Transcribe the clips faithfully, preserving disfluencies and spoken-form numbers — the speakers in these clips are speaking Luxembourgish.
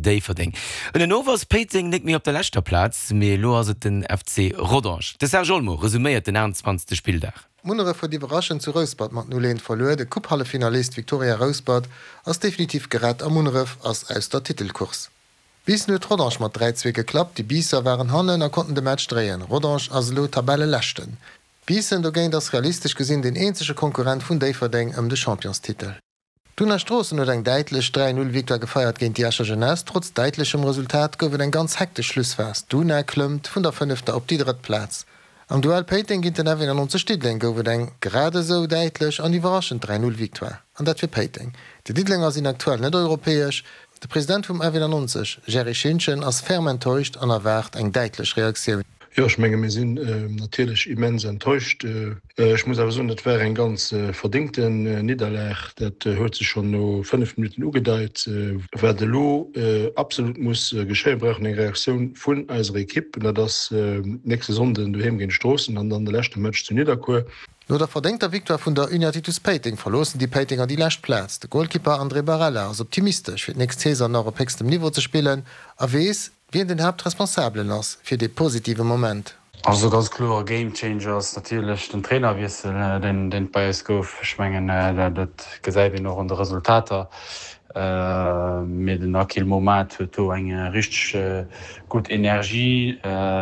Déifferdeng. Ënnenof ass Péiteng net méi op der leschter Plaz, mee elo ass et den F C Rodange. De Serge Olmo resuméiert den achtenzwanzegste Spilldag. Munneref huet iwwerraschend zu Rouspert mat null eent verluer. De Coupe-Halleffinalist Victoria Rouspert ass definitiv gerett a Munneref ass aus der Titelcourse. Biissen huet Rodange mat dräi zwee geklappt. Déi Biisser waren hannen a konnten de Match dréien. Rodange ass elo Tabelleleschten. Biissen dogéint ass realistesch gesinn deen eenzege Konkurrent vun Déifferdeng ëm de Championstitel. D'Una Stroossen huet eng däitlech dräi Null Victoire gefeiert géint déi Escher Jeunesse. Trotz däitlechem Resultat gouf et eng ganz hektesch Schlussphas. D'Una klëmmt vun der fënnefter op déi drëtt Plaz. Am Duell Péiteng géint den F eenannonzeg Diddeleng gouf et eng grad esou däitlech an iwwerraschend dräi Null Victoire. An dat fir Péiteng. Déi Diddelenger sinn aktuell net europäesch. De President vum F eenannonzeg, Jerry Schintgen, ass ferm enttäuscht an erwaart eng däitlech Reaktioun. Jo, ech menge mir sinn natierlech immens enttäuscht. Ech muss awer soen, dat war eng ganz verdéngten Nidderlag. Dat huet sech schonn no fënnef Minutten ugedeit. Wat elo absolut muss geschéien, mir brauchen eng Reaktioun vun eiser Ekipp. Dat ass nächste Sonnden doheem géint Stroossen an dann de leschte Match zu Nidderkuer. No der verdéngter Victoire vun der Uniatitus Péiteng verloossen déi Péitenger déi lescht Plaz. De Golkipper André Barella ass optimistesch, fir d'nächst Saison nach op héchstem Niveau ze spillen a weess, wien den Haaptresponsabelen ass fir dee positive Moment. Also ganz kloer Game Changer ass natierlech den Trainerwiessel, deen deen et bei eis gouf. Ech mengen dat gesäit een och an de Resultater. Mee den Akil Momat huet do eng richteg gutt Energie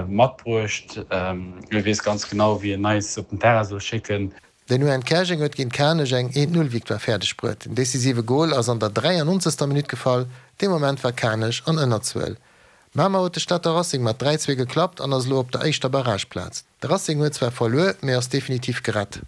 matbruecht. E weess ganz genau, wéi en eis op den Terrain soll schécken. Den U N Käerjeng huet géint Kanech eng eent-Null-Victoire fäerdeg bruet. Den decisive Gol ass an der dräiannonzegster Minutt gefall. Dee Moment war Kanech an Ënnerzuel. Mamer huet de Stater Racing mat dräi zwee geklappt an ass elo op der éischter Barrageplaz. De Racing huet zwar verluer, mee ass definitiv gerett.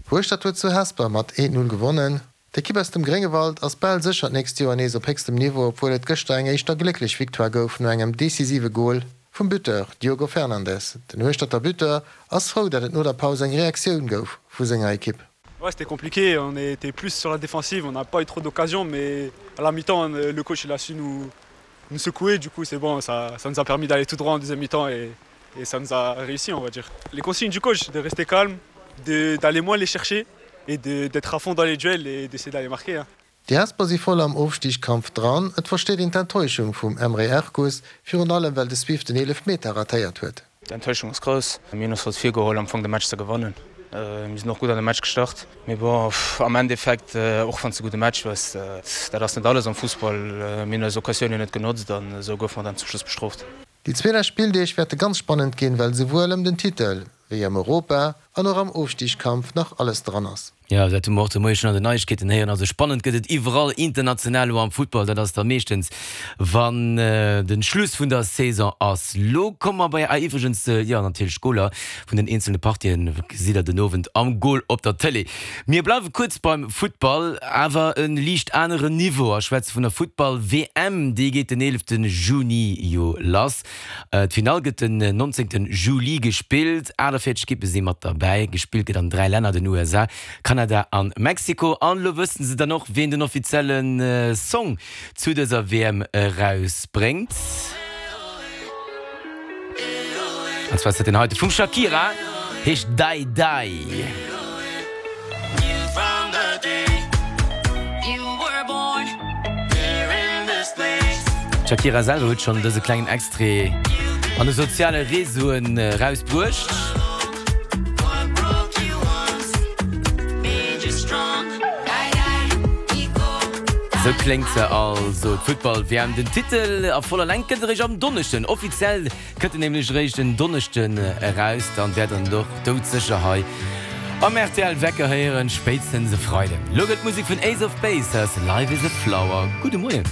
Hueschtert huet zu Hesper mat eent Null gewonnen. D'Ekipp aus dem Gréngewald ass bal sécher d'nächst Joer nees op héchstem Niveau, obwuel et gëschter eng éischter glécklech Victoire gouf no engem decisive Gol vum Buteur Diogo Fernandes. Den Hueschterter Buteur ass frou, datt et no der Paus eng Reaktioun gouf vu senger Ekipp. Ouais, c'était compliqué, on était plus sur la défensive, on n'a pas eu trop d'occasions, mais à la mi-temps, le coach il a su nous, nous secouer, du coup c'est bon, ça, ça nous a permis d'aller tout droit en deuxième mi-temps et, et ça nous a réussi, on va dire. Les consignes du coach, de rester calme, de, d'aller moins les chercher et de, d'être à fond dans les duels et d'essayer d'aller marquer. Hein. Déi Hesper si voll am Ofstigskampf dran. Et versteet een d'Enttäuschung vum Emre Erkus, virun allem well de Swift den Eelefmeter ratéiert huet. D'Enttäuschung ass grouss. Mir hunn eis haut virgeholl am Fong de Match ze gewannen. Mir sinn och gutt an de Match gestart. Mee bon, am Endeffekt, och wann s de gudde Match hues, dat ass net alles am Fussball. Mir hunn eis Occasiounen net genotzt an esou goufe mer dann zum Schluss bestrooft. Déi zwee lescht Spilldeeg wäerte ganz spannend ginn, well souwuel ëm den Titel, wéi am Europa an och am Ofstigskampf nach alles dran ass. Jo, dat hu mer och de Moie schonn an den Neiegkeeten héieren. Also spannend gëtt et iwwerall international elo am Futtball. Dat ass da meeschtens, wann de Schluss vun der Saison ass. Lo komme mer bei, ah iwwregens, jo natierlech d'Goler vun den eenzelne Partien gesitt der den Owend am Goal op der Tëlee. Mir bleiwe kuerz beim Futtball, awer e liicht aneren Niveau a schwätze vun der Futtball-W M. Déi geet den eelefte Juni jo lass. D'Finall gëtt den nonzéngte Juli gespillt. achtundvéierzeg Ekippe si mat derbäi. Gespillt gëtt an dräi Länner, den U S A, Kanada an Mexiko. An elo wëssen se dann och, wien den offizielle Song zu dëser W M erausbréngt. An zwar ass dat deen heite vum Shakira, heescht Dai Dai. D'Shakira selwer huet schonn dëse klengen Extrait an de soziale Reseauen erausbruecht. Sou kléngt se also, d'Futtball-W M. Den Titel a voller Längt gëtt eréischt am Donneschden offiziell, kënnt en nämlech eréischt en Donneschden eraus. Dann wäert der en och doudsécher hei am R T L Wecker héieren, spéitstens e Freiden. Lo gëtt d'Musek vun Ace of Base, hei ass Life is a Flower. Gudde Moien.